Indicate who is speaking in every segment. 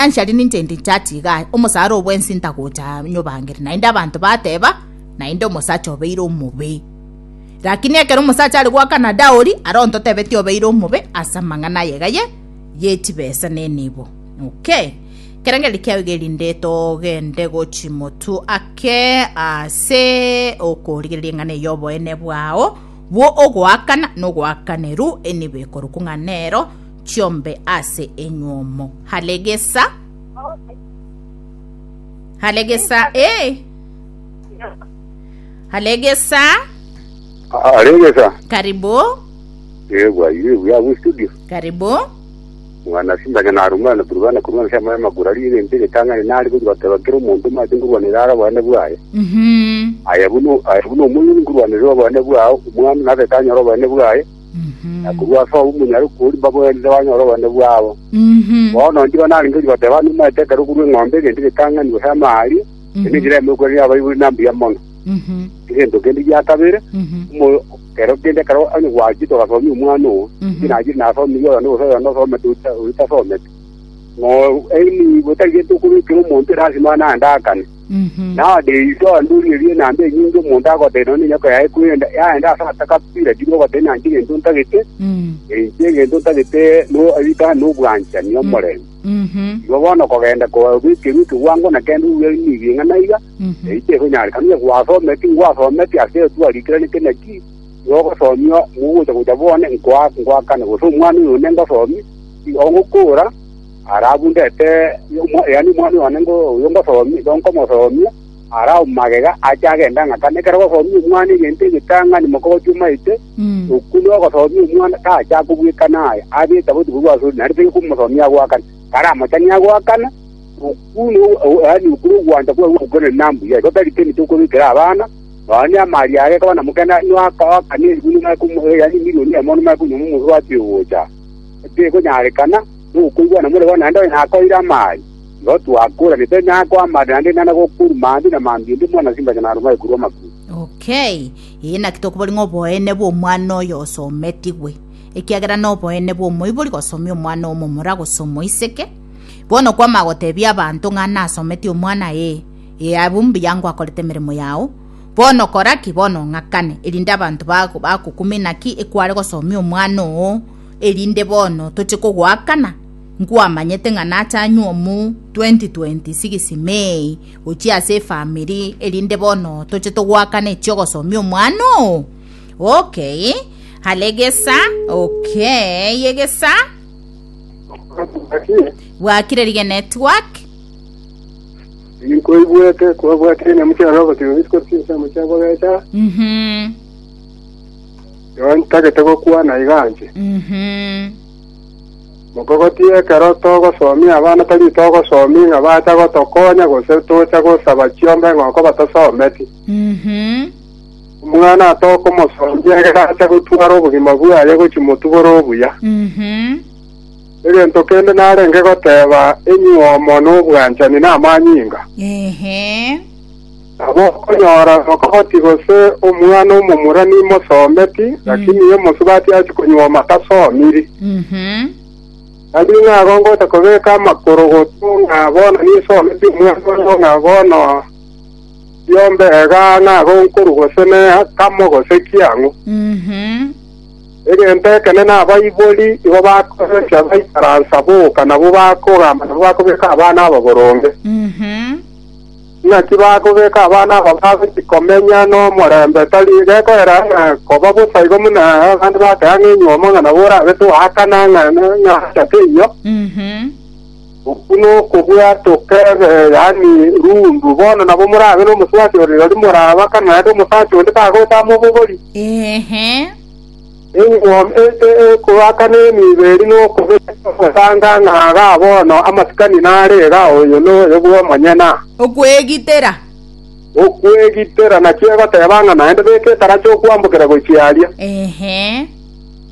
Speaker 1: Financially ninche inde inchache igaa, omosara o bwensi ntagocha nyobangere. Naende abanto bateba, naende omosacha obeire omobe. Lakini ekero omosacha are goakana dowry, aro ntotebetie obeire omobe ase amang'ana aye iga ye ye chibesa na enibo. Okay. Ekerengererio kiao iga erinde togende gochi motwe ake ase okorigereria eng'ana eye y'oboene bwao bwo ogoakana na ogoakaneru enibo ekorokwa ng'a nero chiombe ase enywomo. Halegesa. Halegesa eh. Halegesa.
Speaker 2: Aregesa.
Speaker 1: Karibu.
Speaker 2: Eh, bwaire buya bu studio.
Speaker 1: Karibu.
Speaker 2: Mwana simbanya narumana na turubana kurwana sha magura ri egento egetang'ani nari gochi goteba kera omonto omanyete nkorwanera are obonene bwaye.
Speaker 1: Mhm.
Speaker 2: Aye buna aye buna omoiri nkorwanera obonene bwao, omwana natete anyore obonene bwaye. Na korwa ase obwo omonyaroku oria mbabwenerete banyore obonene bwabo. Bono inche narenge gochia goteba, Nimaete ekero okorua eng'ombe egento egetang'ani gose amaaria, eye nenchera eyemo yokoiraneria abaibori ng'a mbuya mono. Egento kende gia kabere, omo- kero kende ekero onye gwachete ogasomia omwana oo, inche nachire nasomirie oyonde gose oyonde osomete oria oria otasometi, ng'o enibo tari gento okobekera omonto erasima naende aakane. Nowadays onde origererie enamba enyinge omonto agotebia nonya nenyoko yaye kwenda yaenda ase atakabira tiri ogotebia nanche egento ntagete inche egento ntagete no ritang'ani nobwanchani omorembe. Igo bono kogenda kobekerwa ekegwango na kende obuya nigo ing'ana iga eyio tekonyarekana onye gwasometi ngwasometi ase twarikeranete naki igo ogosomia mogocha gocha bone nkoa ngoakane gose omwana oyo one ngosomia igo ngokora Arabu ndete, yaani omwana one oyo ngosomia, igo nkomosomia, Arabu magega ache agende ang'akane. Ekero ogosomia omwana egento egetang'ani mokogochia omaete, okwo nogosomia omwana tacha akobwekana aya, abe etaboti korwa ase oria, naende tari komosomia agoakane. Karamochanie agoakane, okwo no yaani okwo nogwancha kwaye gw'ogokorera na mbuya. Igo tari kende tokobekera abana, nonya amari aye ekaba namokenda noakane elifu nomanye komo yaani emilioni eyemo nomanye konywa omosubati ogocha. Tekonyarekana nokoigwana more bono naende onye nakoeire amari, igo twakoranete nakoa amari naende nana gokorwa mambia na mambia ende mwana simbacha naromare korwa amakuru.
Speaker 1: Okay, ee naki tokobori ng'a oboene bw'omwana oyo osometigwe, ekiagera noboene bw'omoibori gosomia omwana omomura gose omoiseke. Bono kwamanya gotebia abanto ng'a nasometie omwana ee, ee abwo mbuya ngwakorete emeremo yao, Bono kora ki? Bono ng'akane, erinde abanto bagokumie naki ekware gosomia omwana oo, erinde bono toche kogoakana? Nkwamanyete ng'a nache anywe omu 2026 May gochia ase efamiri, erinde bono toche togoakana echi'ogosomia omwana oo? Okay, hale egesa, okay, egesa. Bwakire rige network.
Speaker 3: Ninkoigwete kwabwatire nyamuchera na ogotiga rituko chinsemo chia bogecha.
Speaker 1: Mhm.
Speaker 3: Igo ntagete gokwana iga inche.
Speaker 1: Mhm.
Speaker 3: Mokogotie ekero togosomia abana tari togosomia ng'a bacha gotokonya gose tocha gosaba chiombe ng'oko batasometi.
Speaker 1: Mhm.
Speaker 3: Omwana tokomosomia egere ache gotwara obogima bwaye gochia motwe bore obuya.
Speaker 1: Mhm.
Speaker 3: Egento kende narenge goteba, enyuomo nobwanchani namanyinga.
Speaker 1: Ehe.
Speaker 3: Nabo okonyora mokogoti gose omwana omomura nimosometi, lakini omosubati achia konyuoma tasomiri.
Speaker 1: Mhm.
Speaker 3: Tari ng'a igo ngocha kobeka amakorogoto ng'a bono ninsometi omwana oyo ng'a bono riombe iga ng'a igo nkorwa gose ne kamo gose kiang'u.
Speaker 1: Mhm.
Speaker 3: Egento ekenene abaibori igo bakorecha baikaransa boka, nabwo bakogamba, nabwo bakobeka abana aba boronge. Naki bakobeka abana aba bagochia komenya nomorembe, tari gekoera ng'a koba bosa igo buna abande bakea ng'a enywomo ng'a nabo orabe toakana ng'a ng'a acha teiyo. Okwo nokobwatoka ebe, yaani rundu. Bono nabo morabe nomosubati ore rirorio morabakane, naende omosacha onde tagocha amobogori.
Speaker 1: Ehe.
Speaker 3: Enyuomo ekoakana enibo eria nokobeka ogotanga ng'a igaa bono amasikani nare iga oyo noyo bw'omonyene.
Speaker 1: Okwegitera.
Speaker 3: Okwegitera nakio egoteba ng'a naende beka etaracha okwambokera gochia aria.
Speaker 1: Ehe.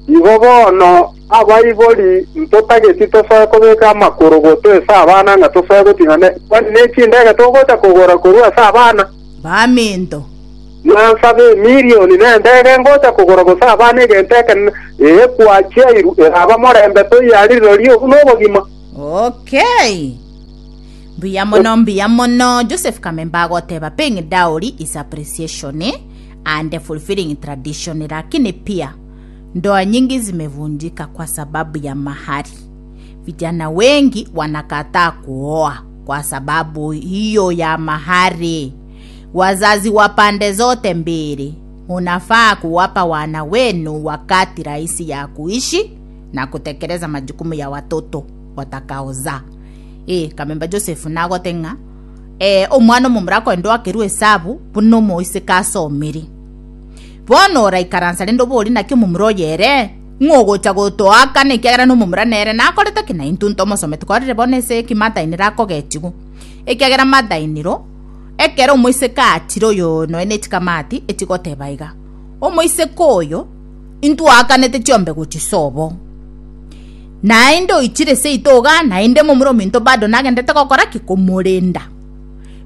Speaker 3: Igo bono abaibori ntotageti tosoe kobeka amakorogoto ase abana ng'a tosoe goting'ana kwani ne chindege togocha kogora korwa ase abana.
Speaker 1: Baminto.
Speaker 3: Nansabe emilioni nendege ngocha kogora gose abana egento ekenene, ee, kwachiairwe, eraba morembe toiyo aria rirorio obwo nobogima.
Speaker 1: Okay. Mbuya mono, mbuya mono. Joseph Kamemba agoteba paying dowry is appreciation and fulfilling tradition, lakini pia ndoa nyingi zimevunjika kwa sababu ya mahari. Vijana wengi wanakataa kuoa kwa sababu hiyo ya mahari. Wazazi wa pande zote mbili munafaa kuwapa wana wenu wakati rahisi ya kuishi na kutekeleza majukumu ya watoto watakaozaa. Ee, Kamemba Joseph nagote ng'a eh, omwana omomura akoenda oakerwe esabu buna omoiseke asomire. Bono oraikaransa rende obori naki omomura oyo ere, ng'o ogocha gotoakana ekiagera nomomura nere nakorete ki naintwe ntomosometi korire bono ase eki mother-in-law akogechigwa. Ekiagera mother-in-law ekero omoiseke achire oyo nonya ne chikamati echigoteba iga, omoiseke oyo intwaakanete chiombe gochia sobo. Naende oichire seito igaa, naende momura ominto bado nagenderete gokora ki? Komorenda.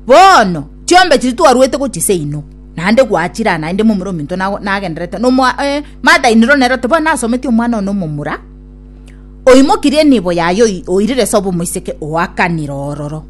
Speaker 1: Bono, chiombe chiria twaruete gochia seino, naende gwachire aa, naende momura ominto nago nagenderete nomoa eh, mother-in-law nere ote bono nasometie omwana one omomura, oimokirie enibo yaye oi oirire sobo omoiseke oakanire ororo.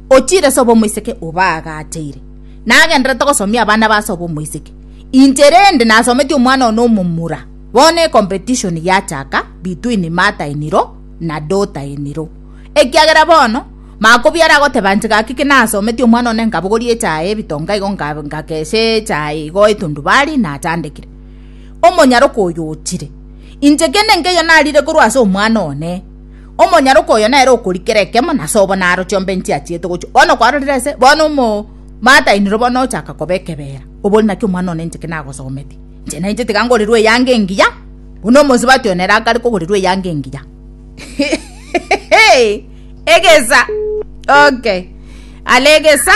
Speaker 1: Ochire sobo omoiseke obaagacheire. Nagenderete gosomia abana ba sobo omoiseke. Inche rende nasometie omwana one omomura. Bono ecompetition yachaka between mother in law na daughter in law. Ekiagera bono makobiara agoteba inche gaki ki nasometie omwana one nkabogoria echae ebitonga igo nka nkakesha echae igo etundubari nachandekire. Omonyaroka oyo ochire. Inche kende nkeiyo narire korwa ase omwana one. Omonyaroka oyo nere okorikera ekemo na sobo naro chiombe nchiachiete gochia. Bono kwarorire ase bono omo mother in law bono ochaka koba ekebera. Obori naki omwana one inche ki nagosometie. Inche nainche tiga ngorerwe eyanga engiya, buna omosubati one ere akare kogorerwa eyanga engiya. Egesa. Okay. Ale egesa,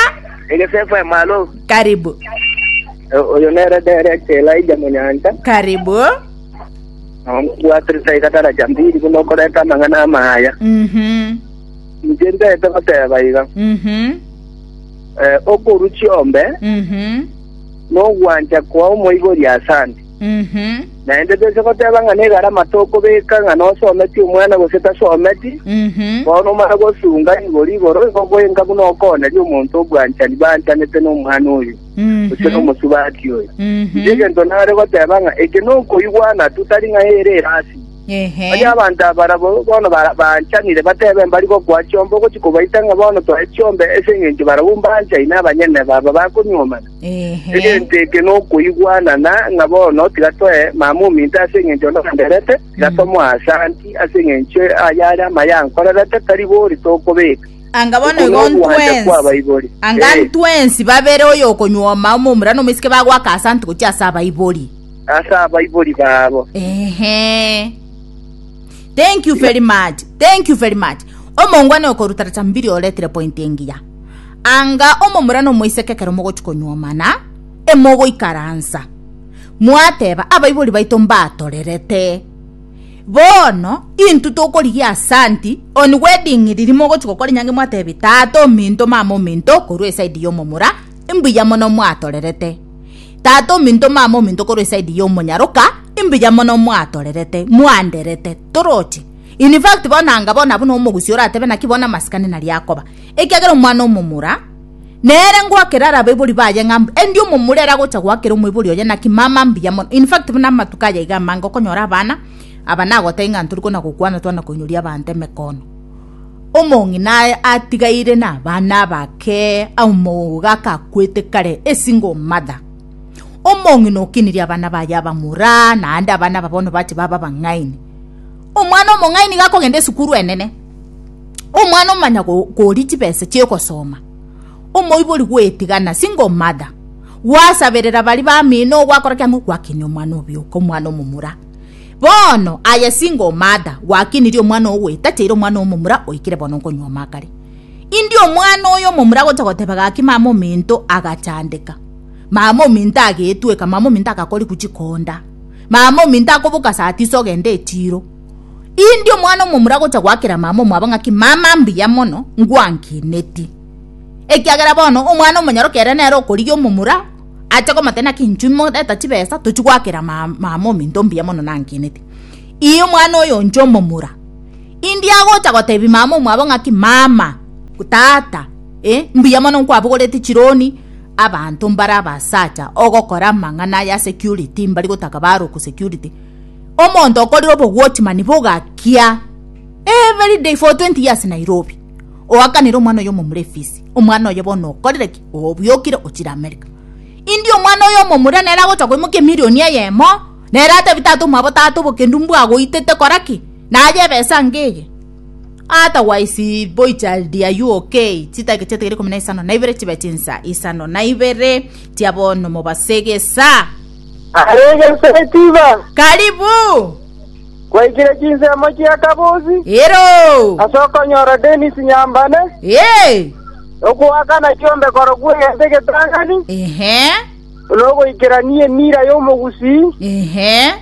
Speaker 4: Egesa FM, alo.
Speaker 1: karibu.
Speaker 4: Oyo nere Derek Elijah Monyancha.
Speaker 1: Karibu.
Speaker 4: Bwatirisa iga daraja mbili buna okoreta amang'ana amaya. Inche ntaete goteba iga. Okorua chiombe nogwancha koa omoibori asante. Naende toise goteba ng'a negarama tokobeka ng'a nosometie omwana gose tasometi, bono omanye gosunga igoro igoro igo goenga buna okooneria omonto obwanchani banchanete nomwana oyo gose nomosubati oyo. Inche egento nare goteba ng'a eke nokoigwana tu tari ng'a ere erasima. Onye abanto aba barabwo bono baanchanire, batebe mbari gokoa chiombe, ogochia kobaita ng'a bono toe chiombe ase engencho barabwo mbanchaine abanyene baba bakonyuomana. Egento eke nokoigwanana ng'a bono tiga toe mama ominto ase engencho nonderete, tiga tomoe asanti ase engencho ayare amaya ankorerete, tari bori tokobeka.
Speaker 1: Anga bono
Speaker 4: Oko
Speaker 1: igo
Speaker 4: nogwancha
Speaker 1: ntwensi
Speaker 4: kw'abaibori.
Speaker 1: anga
Speaker 4: Eh.
Speaker 1: ntwensi babere oyo okonyuoma omomura na omoiseke bagoaka asanti gochia ase abaibori.
Speaker 4: Ase abaibori babo.
Speaker 1: Ehe. Thank you very much. Thank you very much. Omongwana okorutaracha mbiri oretire point engiya. Anga omomura na omoiseke ekero mogochi konyuomana, emogoikaransa. Mwateba abaibori baito mbatorerete. Bono intwe tokorigia asanti on wedding riria mogochi gokora enyangi mwatebi tata ominto mama ominto korwa eside ya omomura mbuya mono mwatorerete. Tata ominto mama ominto korwa eside ya omonyaroka mbuya mono mwatorerete mwanderete toroche. In fact bono anga bono abwo nomogusia oratebe naki bono amasikani naria akoba. Ekiagera omwana omomura nere ngoakera are abaibori baye ng'a mbu endi omomura ere agocha goakera omoibori oye naki mama mbuya mono. In fact buna amatuko aya iga amange okonyora abana aba nagotebia ng'a ntori kona gokwana twana koinyoria abanto emekono. Omong'ina atigaire na abana abake omogaka akwete kare a single mother. Omong'ina okinirie abana baye abamura naende abana aba bono bache babe abang'aini. Omwana omong'aini iga akogenda esukuru enene, omwana omanya koria chibesa chi'ogosoma, omoibori gwetigana single mother, gwasaberera baria bamino gwakora ki ang'o gwakinia omwana obioka omwana omomura. Bono aye single mother gwakinirie omwana oo gwetacheire omwana omomura oikire bono nkonyuoma akare. Indi omwana oyo omomura agocha goteba gaki mama ominto agachandeka, mama ominto agetweka, mama ominto agakorigwa chikonda, mama ominto akoboka saa tisa ogenda echiro. Indi omwana omomura agocha goakera mama omwabo ng'aki mama mbuya mono ngwankineti. Ekiagera bono omwana omonyaroke ere nere okorigia omomura ache komotebia naki inchuo moreta chibesa tochie goakera mama ominto mbuya mono nankineti. Ii omwana oyo inche omomura, indi agocha gotebia mama omwabo ng'aki mama. Tata, eh, mbuya mono nkwabogoreti chironi, abanto mbare abasacha ogokora amang'ana ya security mbari gotaka baroku security. Omonto okorire obowatchman bogakia every day for 20 years Nairobi. Oakanire omwana oyo omomura efisi. Omwana oye bono okorire ki? Obiokire ochire America. Indi omwana oyo omomura nere agocha koimokia emilioni eyemo, nere atebi tata omwabo tata obokendu mbwagoitete kora ki? Naye ebesa ngeye. Otherwise boy child are you okay? Chidakika chiatigire ikomi na isano na ibere chibe chinsa isano na ibere chia bono mobase gesa.
Speaker 4: Arege Setiba,
Speaker 1: Karibu.
Speaker 4: kwaikire chinsemo chia Kabosi,
Speaker 1: Ero.
Speaker 4: ase okonyora Dennis Nyambane,
Speaker 1: Eh.
Speaker 4: okoakana chiombe korokwa egento egetang'ani,
Speaker 1: Ehe.
Speaker 4: nogoikerania emira y'omogusii,
Speaker 1: Ehe.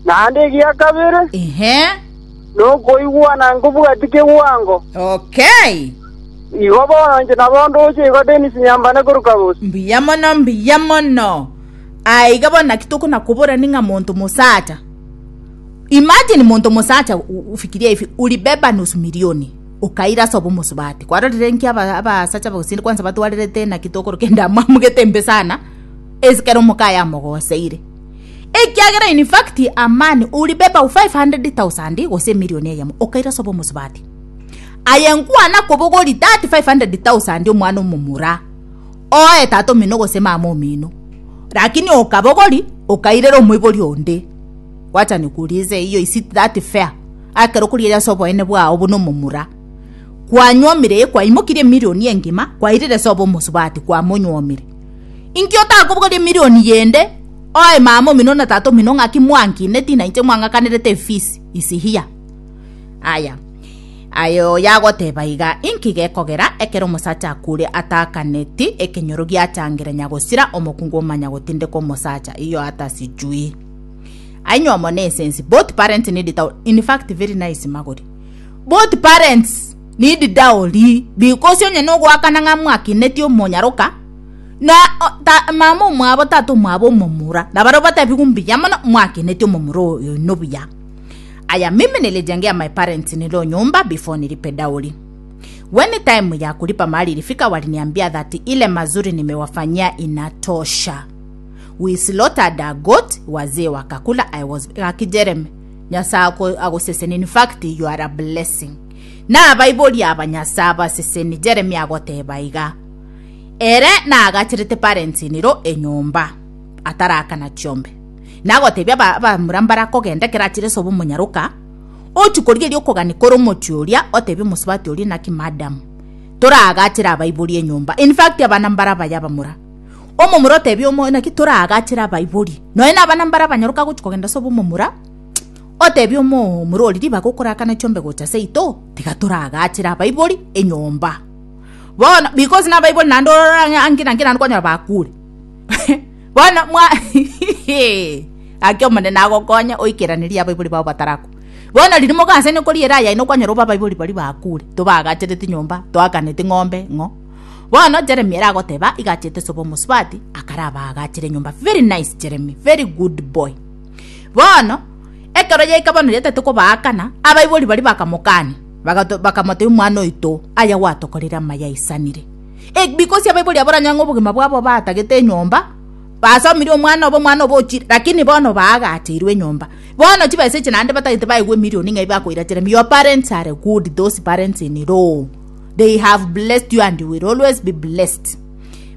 Speaker 4: naende egia kabere,
Speaker 1: Ehe.
Speaker 4: Nokoigwana nkobwati kegwango.
Speaker 1: Okay.
Speaker 4: Igo bono inche nabo ndoche igo Dennis Nyambane korwa Kabosi.
Speaker 1: Mbuya mono mbuya mono. Aiga bono naki tokona kobora ning'a monto mosacha. Imagine monto mosacha ufikiria hivi ulibeba nusu milioni okaira ase obomosubati. Kwarorire nki aba abasacha bagosinde kwanza batwarerete naki tokoroka endamwamu gete embe sana ase kero omokaye amogoseire. Ekiagera in fact a man ulibeba 500,000 gose emilioni eyemo okaira ase obomosubati. Aye nkwana kobogori that 500,000 omwana omomura oe tata omino gose mama omino lakini okabogori okairera omoibori onde. Wacha nikuulize hiyo is it that fair? Ekero okorigereria ase oboene bwao buna omomura kwanywomire kwaimokirie emilioni engima kwairire ase obomosubati kwamonywomire. Inki otakobogoria emilioni yende Oe mama omino na tata omino ng'aki mwankineti na inche mwang'akanerete efisi is here. Aya aye oyo agoteba iga inki gekogera ekero omosacha akure ataakaneti ekenyoro giachangera nyagosira omokungu omanya gotindeka omosacha iyo hata sijui. Ainywe omo ne esensi both parents need dowry in fact very nice magori both parents need dowry because onye nogoakana ng'a mwakineti omonyaroka Na ta, mama omwabo, tata omwabo omomura, na barabwo batebigwe mbuya mono, mwakinetie omomura oyo oino buya. Aya mimi nilijengea my parents nilo nyumba before nilipe dowry. When time ya kulipa mahari ilifika waliniambia that ile mazuri nimewafanyia inatosha. We slaughtered a goat, wazee wakakula, I was gaki Jeremy, Nyasaye ako- agoseseni in fact you are a blessing. Na abaibori aba Nyasaye abaseseni Jeremy agoteba iga. Ere naagacherete parents-in-law enyomba, atarakana chiombe. Nagotebia aba abamura mbarakogenda ekero achire ase obomonyaroka, ochie korigereria okogania kore omochie oria, otebie omosubati oria naki madam, toraagachere abaibori enyomba. In fact abana mbare abaya abamura. Omomura otebie omo naki toraagachere abaibori. Nonya na abana mbare abanyaroka agochia kogenda ase obomomura, otebie omomura oria ribaga okorakana chiombe gocha seito, tiga toraagachere abaibori enyomba. Bono because nabaibori naende orore ang'e ange nange naende kwanyora bakure. Bono mwa gaki Omonene agokonye oikeranerie abaibori bao batarakwa. Bono riria mogasaine koriera aya aino kwanyora obe abaibori baria bakure, tobagachereti nyomba, toakaneti ng'ombe ng'o. Bono Jeremy ere agoteba iga achete ase obomosubati akarabaagachere nyomba very nice Jeremy, very good boy. Bono ekero yaika bono riria tari kobaakana, abaibori baria bakamokania. Bagato, bakamotebia, Omwana oito, aya gwatokorire amaya aisanire. E, because abaibori abo oranyore ng'a obogima bwabo batagete enyomba, basomirie omwana obo, omwana obo ochire, lakini bono baagacheirwe enyomba. Bono chibesa echi naende batagete baegwe emilioni ng'ai bakoira Jeremy, your parents are good, those parents in law, they have blessed you and you will always be blessed.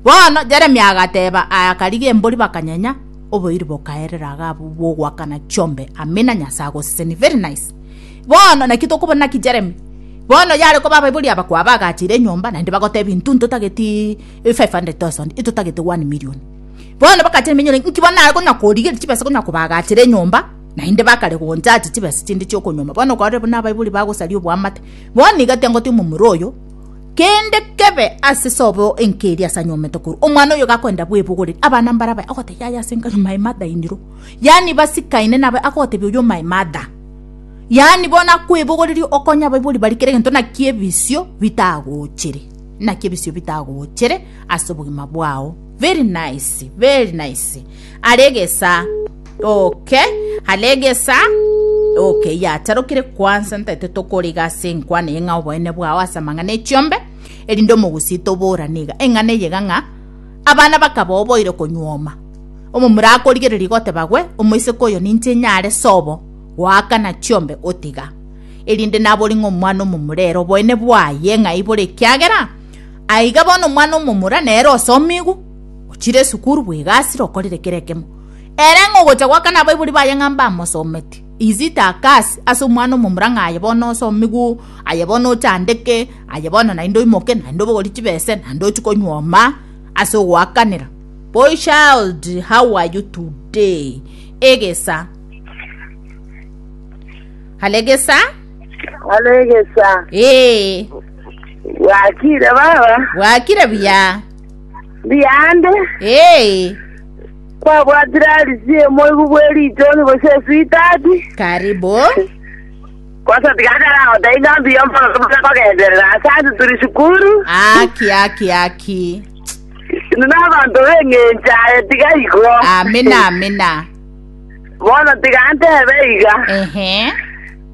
Speaker 1: Bono Jeremy agateba, aya akarigia embori bakanyenya, oboiri bokaerera iga abwo bwogoakana chiombe, amina Nyasae agosesenie, very nice. Bono naki tokobora naki Jeremy? Bono yare koba abaibori aba kwabagachire enyomba naende bagotebia intwe ntotageti 500,000 intotagete 1 million. Bono bakacha eminyoro inki bono nare konya korigereria chibesa konya kobagachera enyomba naende bakare gonchachi chibesa chinde chiokonyoma. Bono kwarorire buna abaibori bagosaria oboamate. Bono iga tiangotia omomura oyo kende kebe ase sobo enka eria ase anyomete korwa. Omwana oyo gakoenda bwebogoreria abana mbare abaye agotebia yaya ase nka my mother in law. Yaani basikaine nabe agotebia oyio my mother. Yaani bono akwebogoreria okonye abaibori baria kera egento naki ebisio bitagochere, naki ebisio bitagochere ase obogima bwao. Very nice, very nice. Are egesa okay, are egesa okay, yacharokire kwansa ntaete tokoriga ase enkwana eye ng'a oboene bwao ase amang'ana echiombe. Erinde omogusii toborane iga, eng'ana eye iga ng'a abana bakaba oboire konyuoma. Omomura akorigereria goteba gwe, omoiseke oyo ninche nyare sobo goakana chiombe otiga. Erinde nabori ng'a omwana omomura ere oboene bwaye ng'ai bore ekiagera aiga bono omwana omomura nere osomigwe, ochire esukuru bwegasire okorire kera ekemo. Ere ng'a ogocha goakana abaibori baye ng'a mbamosometi. Is it a curse ase omwana omomura ng'a aye bono osomigwe, aye bono ochandeke, aye bono naende oimoke, naende obogorie chibese, naende ochie konyuoma ase ogoakanera. Boy child, how are you today? Egesa. Alegesa?
Speaker 5: Alegesa.
Speaker 1: Ee.
Speaker 5: Bwakire baba.
Speaker 1: Bwakire buya.
Speaker 5: Mbuyande.
Speaker 1: Ee.
Speaker 5: Kwabwatire arisi emoigu bwe ritoni gose eswitati.
Speaker 1: Karibu.
Speaker 5: Kwanza tiga ntaragotebia ng'a mbuya mono tobare kogenderera ase ase turi sukuru.
Speaker 1: Aki aki aki.
Speaker 5: Intwe nabanto b'eng'encho aye tiga igo.
Speaker 1: Amina amina.
Speaker 5: Bono tiga ntebe iga.
Speaker 1: Ehe.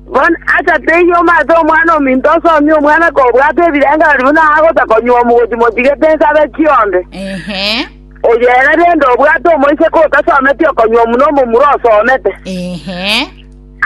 Speaker 5: Bono asa teiyo omanyete omwana ominto osomie omwana kobwata ebirengererio buna agota konywa omogochi motigete nsabe chionde.
Speaker 1: Ehe.
Speaker 5: Oyo ere rende obwate omoiseke otasometi okonywa omuna omomura osomete.
Speaker 1: Ehe.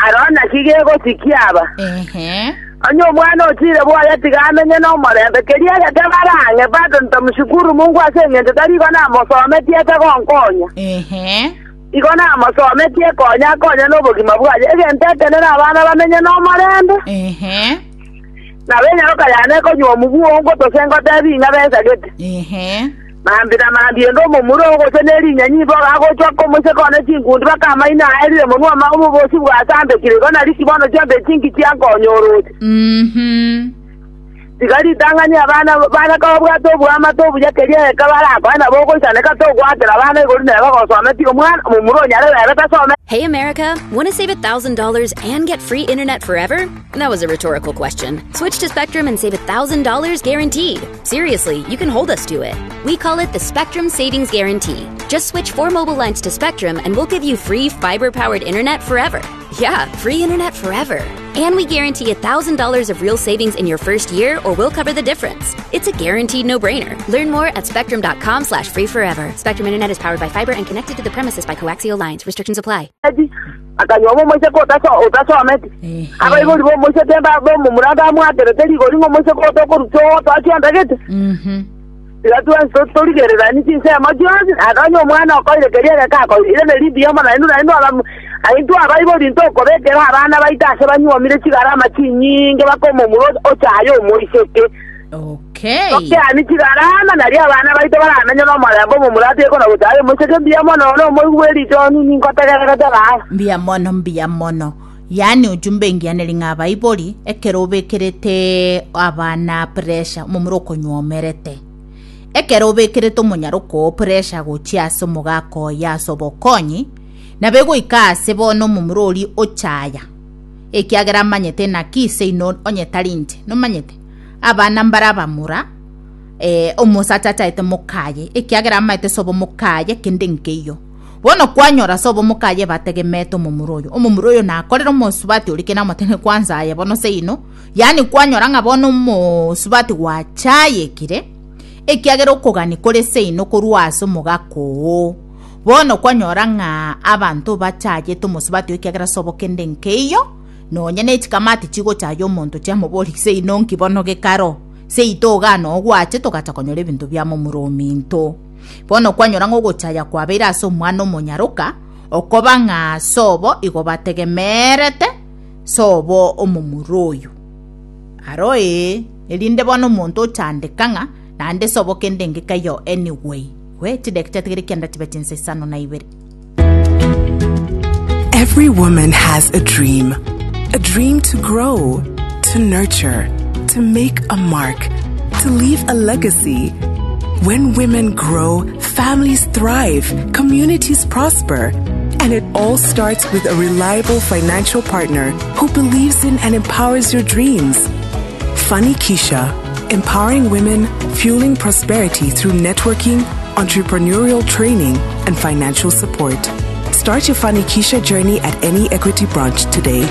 Speaker 5: Aro naki gegosikia aba.
Speaker 1: Ehe.
Speaker 5: Onye omwana ochire bwoye tiga amenye nomorembe, keria egeke bare ang'e, bado ntamushukuru Mungu ase engencho tari igo namosometie ase gonkonya.
Speaker 1: Ehe.
Speaker 5: Igo namosometie konya akonye nobogima bwaye. Egento ekenene abana bamenye nomorembe.
Speaker 1: Ehe.
Speaker 5: Nabo enyaroka yane ekonywa omobuo gose ngotebi ing'a bensagete.
Speaker 1: Ehe.
Speaker 5: Mambia na mambia ende omomura oo gose ne rinyanyi ibogo agochwa komoiseke one chinkundi baka amaino aerire monwe ama obobosi bwasambekire igo nariki bono chiombe chinki chiankonya oroche. Tiga ritang'ani abana bane kobwate oboamate obuya keria egeka barakoe nabo ogoisaneka togoakera abana igoro neba gosometie omwana omomura onyare bebe tasome.
Speaker 6: Hey America, want to save $1,000 and get free internet forever? That was a rhetorical question. Switch to Spectrum and save $1,000 guaranteed. Seriously, you can hold us to it. We call it the Spectrum Savings Guarantee. Just switch four mobile lines to Spectrum and we'll give you free fiber powered internet forever. Yeah, free internet forever. And we guarantee $1,000 of real savings in your first year or we'll cover the difference. It's a guaranteed no-brainer. Learn more at spectrum.com slash free forever. Spectrum Internet is powered by fiber and connected to the premises by coaxial lines. Restrictions apply.
Speaker 5: Akanyuoma omoiseke otasometi. Abaibori b'omoiseke b'omomura bamwaterete rigori ng'a omoiseke oyo tokorusia ogotoa chionda gete. Tiga twensi torigereranie chinsemo chionsi, naende onye omwana okoire keria egeka akoire, ire neri mbuya mono naintwe naintwe aba intwe abaibori ntokobekera abana baito ase banyuomire chigarama chinyinge baka omomura ochaye omoiseke.
Speaker 1: Okay.
Speaker 5: Tokeani chigarama, nario abana baito baramenye nomorembe omomura atige kona gochaya omoiseke mbuya mono one omoigwa bwe ritoni ningotegererete baba.
Speaker 1: Mbuya mono mbuya mono. Yaani ujumbe engiya neri ng'a abaibori ekero obekerete abana pressure omomura okonywomerete ekero obekerete omonyaroka oo pressure gochia ase omogaka oye ase obokonyi nabo egoika ase bono omomura oria ochaya ekiagera amanyete naki seino onye tari inche nomanyete Abana mbare abamura, eh, omosacha achaete mokaye, ekiagera amaete sobo mokaye kende nkeiyo. Bono kwanyora sobo mokaye bategemeete omomura oyo. Omomura oyo nakorera omosubati oria kende amotebie kwanza aye bono seino, yaani kwanyora ng'a bono omosubati gwachayekire, ekiagera okogani kore seino korwa ase omogaka oo. Bono kwanyora ng'a abanto bachayete omosubati oyo ekiagera sobo kende nkeiyo, Nonya ne chikamati chigochaya omonto chiamoboria, Seino nki bono gekaro? Seito igaa noo gwache togacha konyora ebinto bia momura ominto. Bono kwanyora ng'a ogochaya kwabeire ase omwana omonyaroka, okoba ng'a sobo igo bategemeerete sobo omomura oyo. Aro ee, erinde bono omonto ochandeka ng'a naende sobo kende ngekaiyo anyway. We, chidakika chiatigire kianda chibe chinsa isano na ibere.
Speaker 7: Every woman has a dream. A dream to grow, to nurture, to make a mark, to leave a legacy. When women grow, families thrive, communities prosper. And it all starts with a reliable financial partner who believes in and empowers your dreams. Funny Keisha, empowering women, fueling prosperity through networking, entrepreneurial training, and financial support. Start your Funny Keisha journey at any Equity branch today.